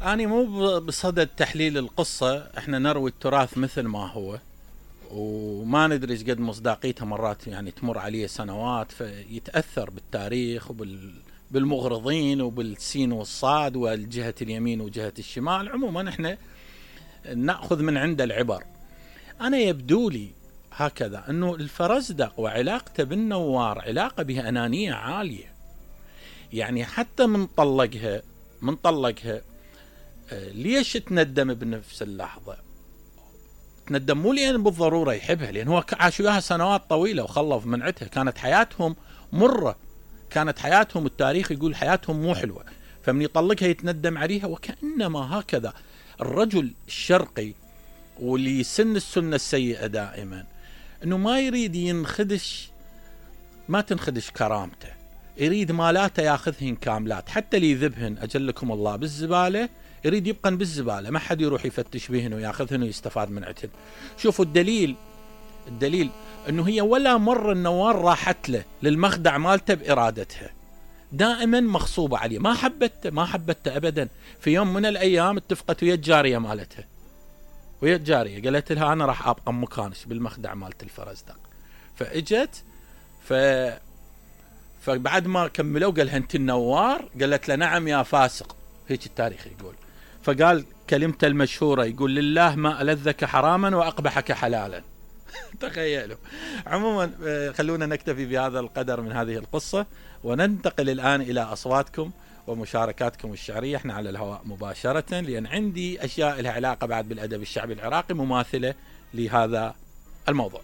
أنا مو بصدد تحليل القصة، احنا نروي التراث مثل ما هو، وما ندري ايش قد مصداقيتها، مرات يعني تمر عليه سنوات فيتأثر بالتاريخ بالمغرضين وبالسين والصاد والجهة اليمين وجهة الشمال. عموما احنا نأخذ من عند العبر. أنا يبدو لي هكذا أنه الفرزدق وعلاقته بالنوار علاقة بها أنانية عالية، يعني حتى من طلقها ليش تندم بنفس اللحظة؟ تندم مو لأن بالضرورة يحبها، لأن هو عاش وياها سنوات طويلة وخلف منعتها، كانت حياتهم مرة، كانت حياتهم التاريخ يقول حياتهم مو حلوة، فمن يطلقها يتندم عليها. وكأنما هكذا الرجل الشرقي واللي يسن السنة السيئة دائما انه ما يريد ينخدش، ما تنخدش كرامته، يريد مالاته ياخذهن كاملات، حتى اللي يذبهن اجلكم الله بالزبالة يريد يبقن بالزبالة، ما حد يروح يفتش بهن وياخذهن ويستفاد من عتهن. شوفوا الدليل انه هي ولا مرة النوار راحت له للمخدع مالته بارادتها، دائما مغصوبة عليه، ما حبته ابدا. في يوم من الايام اتفقت ويا الجارية مالتها، ويا الجارية قالت لها انا راح ابقى مكانش بالمخدع مالت الفرزدق، فاجت فبعد ما كملوا قالها انت النوار؟ قالت له نعم يا فاسق، هيك التاريخ يقول. فقال كلمته المشهورة، يقول لله ما ألذك حراما وأقبحك حلالا. تخيلوا. عموما خلونا نكتفي بهذا القدر من هذه القصة، وننتقل الآن إلى أصواتكم ومشاركاتكم الشعرية. احنا على الهواء مباشرة، لأن عندي أشياء لها علاقة بعد بالأدب الشعبي العراقي مماثلة لهذا الموضوع.